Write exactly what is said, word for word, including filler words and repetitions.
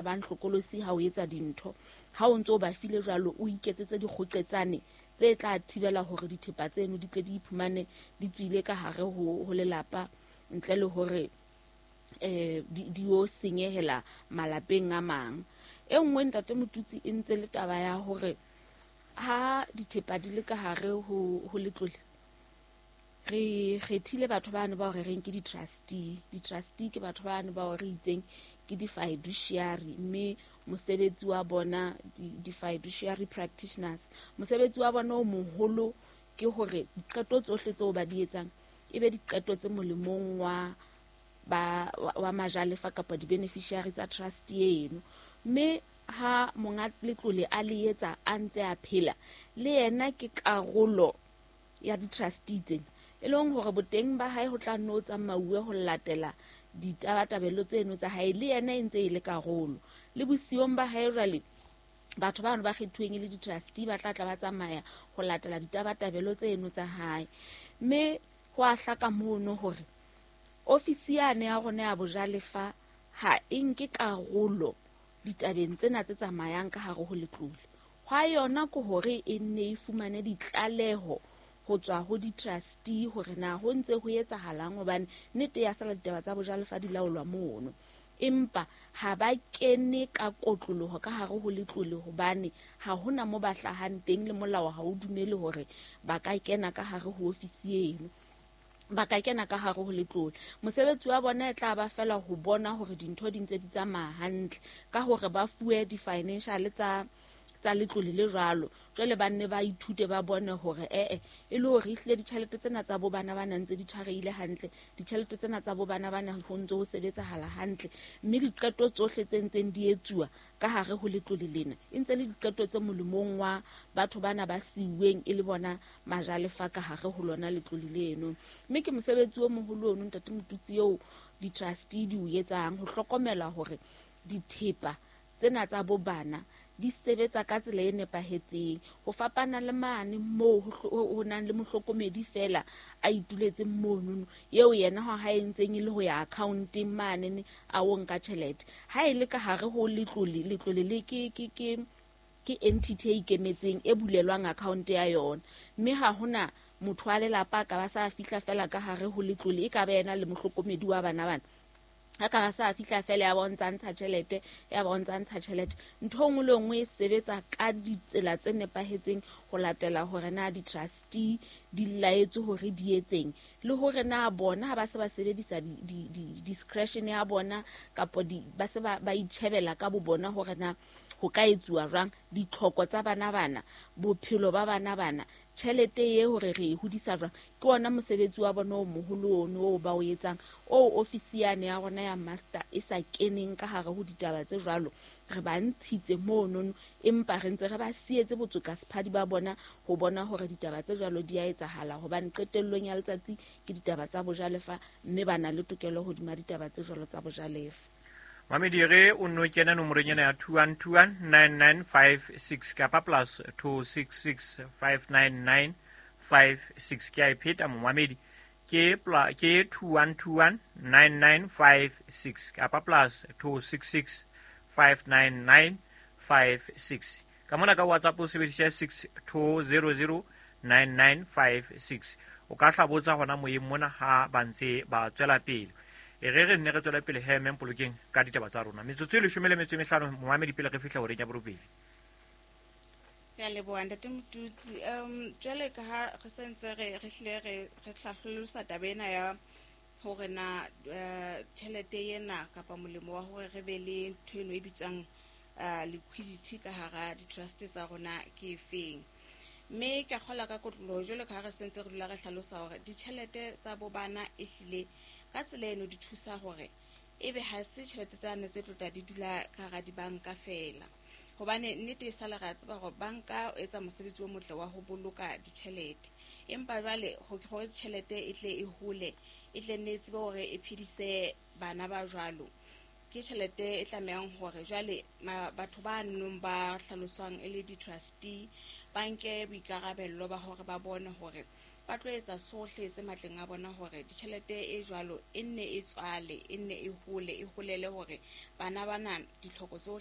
bang hlokolosi ha o etsa dintho. Ha o ntso ba file jwalo, o iketsetse dikgoqetsane tse tla thibela hore dithepa tseno di tle di iphumane di tswile ka hare ho, ho lelapa ntle le hore eh di, di o senyehela malapeng a mang. E nngwe ntate Motutsi e ntse le taba ya hore ha dithepa di le ka hare ho, ho letlole, re kgethile batho bano bao re reng ke di-trustee. Di-trustee ke batho bano bao re itseng ke di-fiduciary, mme mosebetsi wa bona di-fiduciary practitioners, mosebetsi wa bona o moholo ke hore diqeto tsohle tseo ba di etsang e be diqeto tse molemong wa ba wa majalefa kapa di-beneficiary tsa trust eno. Mme ha monga letlole a le etsa a ntse a phela, le yena ke karolo ya di-trustee tsena, e leng hore boteng ba hae ho tla nno tsamauwe ho latela ditabatabelo tseno tsa hae, le yena e ntse e le karolo. Le bosiong ba hae jwale, batho bano ba kgethuweng e le di-trustee ba tla tla ba tsamaya ho latela ditabatabelo tseno tsa hae. Mme ho a hlaka mono hore ofisi yane ya rona ya bojalefa ha e nke karolo ditabeng tsena tse tsamayang ka hare ho letlole. Hwa yona ke hore e nne e fumane ditlaleho ho tswa ho di-trustee hore na ho ntse ho etsahalang, hobane nnete ya sala ditaba tsa bojalefa di laolwa mono. Empa ha ba kene ka kotloloho ka hare ho letlole, hobane ha hona mo ba hlahang teng, le molao ha o dumele hore ba ka kena ka hare ho ofisi eno, ba ka kena ka hare ho letlole. Mosebetsi wa bona e tla ba fela ho bona hore dintho di ntse di tsamaya hantle, ka hore ba fuwe di-financial tsa tsa letlole le jwalo. Jwale ba nne ba ithute, ba bone hore ee e le hore ehlile ditjhelete tsena tsa bo bana ba ntse di tshwarehile hantle, ditjhelete tsena tsa bo bana bana ho ntse ho sebetsahala hantle, mme diqeto tsohle tse ntseng di etsuwa ka hare ho letlole lena e ntse le diqeto tse molemong wa batho bana ba siuweng e le bona majalefa ka hare ho lona letlole leno. Mme ke mosebetsi o moholo ono ntate Motutsi eo di-trustee di o etsang, ho hlokomela hore dithepa tsena tsa bo bana di sebetsa ka tsela e nepahetseng, ho fapana le mane moo ho nang le mohlokomedi fela a ituletseng monono, eo yena ha e ntseng e le ho ya accounteng mane a o nka tjhelete. Ha e le ka hare ho letlole, letlole le ke ke ke ke entity e ikemetseng e bulelwang account ya yona, mme ha hona motho wa lelapa a ka ba sa fihla fela ka hare ho letlole, e ka ba yena le mohlokomedi wa bana bana. Ha ka ba sa fihla fela ya bontsha ntsha tjhelete, ya bontsha ntsha tjhelete. Ntho e nngwe le nngwe e sebetsa ka ditsela tse nepahetseng ho latela hore na di-trustee di laetswe hore di etseng, le hore na bona ha ba se ba sebedisa di-discretion ya bona kapa di ba se ba ba itjhebela ka bo bona hore na ho ka etsuwa jwang ditlhoko tsa bana bana, bophelo ba bana bana, tjhelete e hore re e hodisa jwang. Ke ona mosebetsi wa bona o moholo ono o ba o etsang, o ofisi yane ya rona ya master e sa keneng ka hare ho ditaba tse jwalo. Re ba ntshitse monono, empa re ntse re ba sietse botsokasephadi ba bona ho bona hore ditaba tse jwalo di a etsahala, hobane qetellong ya letsatsi ke ditaba tsa bojalefa, mme ba na le tokelo hodima ditaba tse jwalo tsa bojalefa. Mamedi re o no kena nomorong ena ya two one two one nine nine five six kapa plus two six six five nine nine five six. Ke a e pheta momamedi, ke ke two one two one nine nine five six kapa plus two six six five nine nine five six. Ka mona ka WhatsApp o sebedisa six two zero zero nine nine five six. O ka hlabotsa hona moyeng mona ha ba ntse ba tswela pele. E re re nne re tswele pele he mme Mpolokeng ka ditaba tsa rona. Metsotso e leshome le metso e mehlano momamedi pele re fihla horeng ya borobedi. Ke a leboha ntate Motutsi. Um jwale ka ha re sentse re re hlile re re hlahlolosa taba ena ya hore na tjhelete ena kapa molemo wa hore re be le ntho eno e bitswang liquidity ka hara di-trust tsa rona ke efeng. Mme ke kgola ka kotloloho jwale ka ha re sentse re dula re hlalosa hore ditjhelete tsa bo bana e hlile ka tsela eno di thusa hore ebe ha se tjhelete tsane tse tlotla di dula ka hara dibanka fela. Hobane nnete e sale re a tseba hore banka e etsa mosebetsi o motle wa ho boloka ditjhelete, empa jwale hore tjhelete e tle e hole, e tle nne e tsebe hore e phedise bana ba jwalo, ke tjhelete e tlamehang hore jwale batho ba nong ba hlaloswang e le di-trustee ba nke boikarabello ba hore ba bone hore Ba tlo etsa sohle se matleng a bona hore ditjhelete e jwalo e nne e tswale, e nne e hole, e holele hore bana bana ditlhoko tsohle.